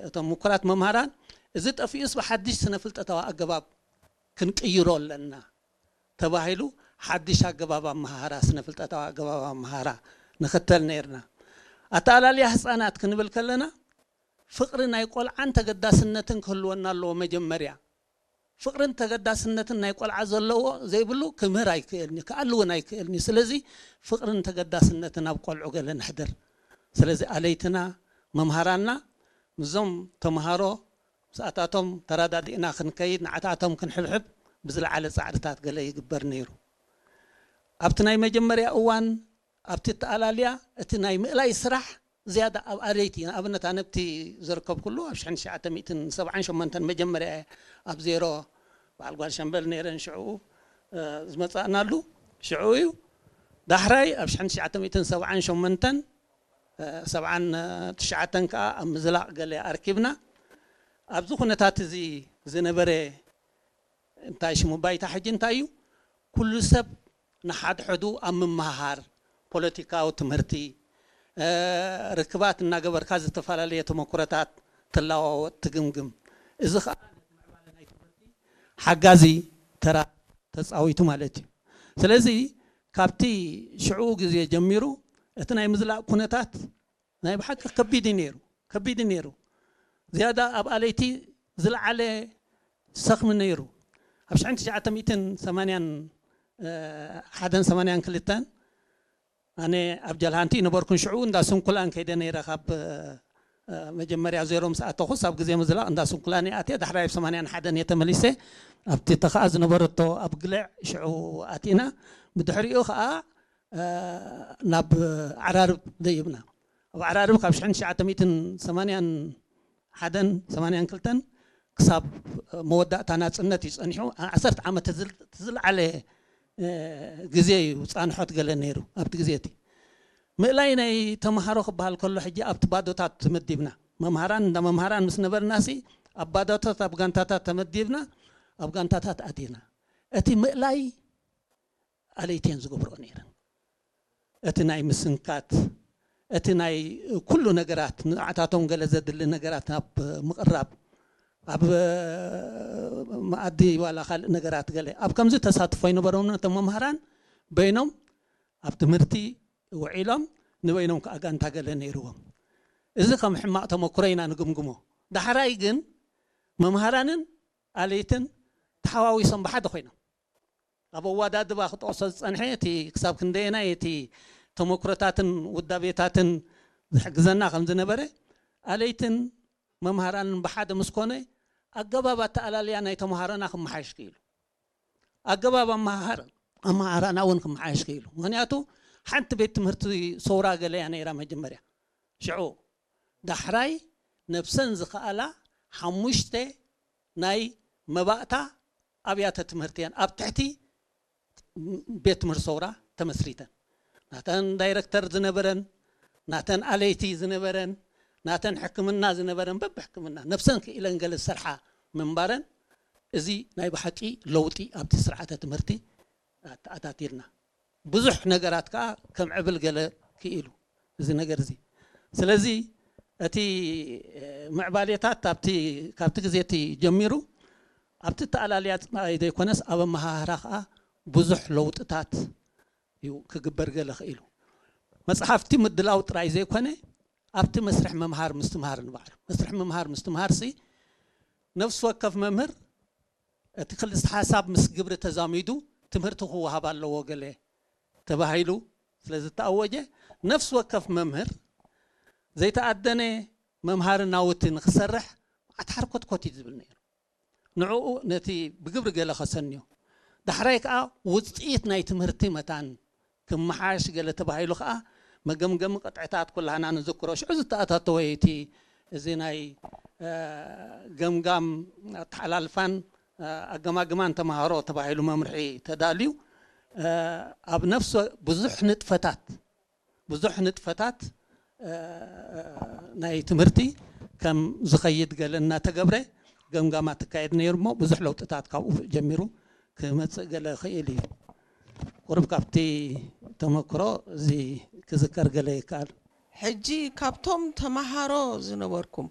እቶም ምኩራት መምሃራን፣ እዚ ጠፊኡስ ብሓድሽ ስነ ፍልጠታዊ ኣገባብ ክንቅይሮ ኣለና ተባሂሉ፣ ሓድሽ ኣገባብ ኣመሃህራ፣ ስነ ፍልጠታዊ ኣገባብ ኣመሃህራ ንኽተል ነይርና። ኣተኣላልያ ህፃናት ክንብል ከለና፣ ፍቕሪ ናይ ቆልዓን ተገዳስነትን ክህልወና ኣለዎ። መጀመርያ ፍቕርን ተገዳስነትን ናይ ቆልዓ ዘለዎ ዘይብሉ ክምህር ኣይክእልኒ፣ ክኣሊ እውን ኣይክእልኒ። ስለዚ ፍቕርን ተገዳስነትን ኣብ ቆልዑ ገለ ነሕድር። ስለዚ ኣለይትና፣ መምሃራንና ምስዞም ተምሃሮ ምስኣታቶም ተረዳዲእና ክንከይድ፣ ንዓታቶም ክንሕብሕብ ብዝለዓለ ጻዕርታት ገለ ይግበር ነይሩ። ኣብቲ ናይ መጀመርያ እዋን፣ ኣብቲ ኣተኣላልያ፣ እቲ ናይ ምእላይ ስራሕ ዝያዳ ኣብ ኣለይቲ፣ ንኣብነት ኣነ ኣብቲ ዘርከብኩሉ ኣብ ሽሕን ትሽዓተ ሚእትን ሰብዓን ሸሞንተን መጀመርያ እየ ኣብ ዜሮ በዓል ጓል ሸምበል ነይረን ሽዕኡ፣ እ፣ ዝመጻእናሉ ሽዕኡ እዩ። ዳሕራይ ኣብ ሽሕን ትሽዓተ ሚእትን ሰብዓን ሸሞንተን፣ እ፣ ሰብዓን ትሽዓተን ከኣ ኣብ ምዝላቕ ገለ ኣርኪብና። ኣብዚ ኩነታት እዚ ዝነበረ እንታይ ሽሙ ባይታ ሕጂ እንታይ እዩ? ኩሉ ሰብ ንሓድሕዱ ኣብ ምምሃሃር፣ ፖለቲካዊ ትምህርቲ፣ እ፣ ርክባት እናገበርካ ዝተፈላለየ ተመኩሮታት ትለዋወጥ፣ ትግምግም። እዚ ኸኣ ሓጋዚ ተራ ተጻዊቱ ማለት እዩ። ስለዚ ካብቲ ሽዑ ግዜ ጀሚሩ እቲ ናይ ምዝላቕ ኩነታት ናይ ብሓቂ ከቢድ እዩ ነይሩ፣ ከቢድ እዩ ነይሩ። ዝያዳ ኣብ ኣለይቲ ዝለዓለ ሰኽሚ ነይሩ። ኣብ ሽሕን ትሽዓተ ሚእትን ሰማንያን ሓደን ሰማንያን ክልተን ኣነ ኣብ ጃልሃንቲ ነበርኩን፣ ሽዑ እንዳ ስንኩላን ከይደ ነይረ። ካብ፣ እ፣ መጀመርያ ዜሮ ምስ ኣተኹስ ኣብ ግዜ ምዝላቕ እንዳ ስንኩላን እየ ኣትየ፣ ዳሕራይ ኣብ ሰማንያን ሓደን እየ ተመሊሰ። ኣብቲ ተኸኣ ዝነበረቶ ኣብ ግልዕ ሽዑ ኣቲና። ብድሕሪኡ ኸኣ፣ እ፣ ናብ ዓራርብ ደይብና። ኣብ ዓራርብ ካብ ሽሕን ትሽዓተ ሚእትን ሰማንያን ሓደን ሰማንያን ክልተን ክሳብ መወዳእታ ናጽነት እዩ ጸኒሑ። ዓሰርተ ዓመት ዝል-፣ ዝለዓለ፣ እ፣ ግዜ እዩ ጻንሖት ገለ ነይሩ ኣብቲ ግዜ እቲ። ምእላይ ናይ ተምሃሮ ክበሃል ከሎ ሕጂ ኣብቲ ባዶታት ተመዲብና፣ መምሃራን እንዳ መምሃራን ምስ ነበርናሲ ኣብ ባዶታት፣ ኣብ ጋንታታት ተመዲብና፣ ኣብ ጋንታታት ኣቲና። እቲ ምእላይ ኣለይተን ዝገብርኦ ነይረን። እቲ ናይ ምስንካት፣ እቲ ናይ ኩሉ ነገራት፣ ንዓታቶም ገለ ዘድሊ ነገራት ናብ ምቕራብ፣ ኣብ መኣዲ ዋላ ካልእ ነገራት ገለ፣ ኣብ ከምዚ ተሳትፎ ኣይነበሮምን። እቶም መምሃራን በይኖም ኣብ ትምህርቲ ውዒሎም፣ ንበይኖም ከኣ ጋንታ ገለ ነይርዎም። እዚ ከም ሕማቕ ተመኩሮ ኢና ንግምግሞ። ዳሕራይ ግን መምሃራንን ኣለይትን ተሓዋዊሶም ብሓደ ኮይኖም፣ ኣብ ኣወዳድባ ክጠቕሶ ዝጸንሐ፣ እቲ ክሳብ ክንደየናይ እቲ ተመኩሮታትን ውዳቤታትን ዝሕግዘና ከም ዝነበረ፣ ኣለይትን መምሃራንን ብሓደ ምስ ኮነ፣ ኣገባብ ኣተኣላልያ ናይ ተምሃሮና ክመሓየሽ ክኢሉ። ኣገባብ ኣመሃሃር-፣ ኣመሃህራና እውን ክመሓየሽ ክኢሉ። ምኽንያቱ ሓንቲ ቤት ትምህርቲ ሰውራ ገለ እያ ነይራ መጀመርያ። ሽዑ ዳሕራይ ነብሰን ዝኸኣላ ሓሙሽተ ናይ መባእታ ኣብያተ ትምህርቲ እየን ኣብ ትሕቲ ቤት ትምህርቲ ሰውራ ተመስሪተን። ናተን ዳይረክተር ዝነበረን፣ ናተን ኣለይቲ ዝነበረን፣ ናተን ሕክምና ዝነበረን፣ በብሕክምና ነብሰን ክኢለን ገለ ዝሰርሓ ምንባረን፣ እዚ ናይ ብሓቂ ለውጢ ኣብቲ ስርዓተ ትምህርቲ ኣተኣታቲልና። ብዙሕ ነገራት ከኣ ከም ዕብል ገለ ክኢሉ እዚ ነገር እዚ። ስለዚ እቲ፣ እ፣ ምዕባሌታት ኣብቲ፣ ካብቲ ግዜ እቲ ጀሚሩ ኣብቲ ኣተኣላልያ ጥራይ ዘይኮነስ ኣብ ኣመሃህራ ከኣ ብዙሕ ለውጥታት እዩ ክግበር ገለ ክኢሉ። መጽሓፍቲ ምድላው ጥራይ ዘይኮነ ኣብቲ መስርሕ ምምሃር ምስትምሃር ንባዕሉ፣ መስርሕ ምምሃር ምስትምሃር ሲ ነፍሲ ወከፍ መምህር እቲ ክልተ ሓሳብ ምስ ግብሪ ተዛሚዱ ትምህርቲ ክወሃብ ኣለዎ ገለ ተባሂሉ ስለ ዝተኣወጀ፣ ነፍሲ ወከፍ መምህር ዘይተኣደነ መምሃሪ ናውቲ ንክሰርሕ ኣትሓርኮትኮት እዩ ዝብል ነይሩ። ንዕኡ ነቲ ብግብሪ ገለ ከሰንዮ። ዳሕራይ ከኣ ውጽኢት ናይ ትምህርቲ መታን ክመሓሽ ገለ ተባሂሉ ከኣ መገምገሚ ቅጥዕታት ኩላህና ንዝክሮ። ሽዑ ዝተኣታተወ እቲ፣ እዚ ናይ፣ እ፣ ገምጋም ኣተሓላልፋን፣ እ፣ ኣገማግማን ተምሃሮ ተባሂሉ መምርሒ ተዳልዩ፣ እ፣ ኣብ ነፍሲ ብዙሕ ንጥፈታት፣ ብዙሕ ንጥፈታት፣ እ፣ ናይ ትምህርቲ ከም ዝኸይድ ገለ እናተገብረ ገምጋማት ትካየድ ነይሩ እሞ ብዙሕ ለውጥታት ካብኡ ጀሚሩ ክመጽእ ገለ ክእል እዩ። ቁሩብ ካብቲ ተመክሮ እዚ ክዝከር ገለ ይከኣል። ሕጂ ካብቶም ተመሃሮ ዝነበርኩም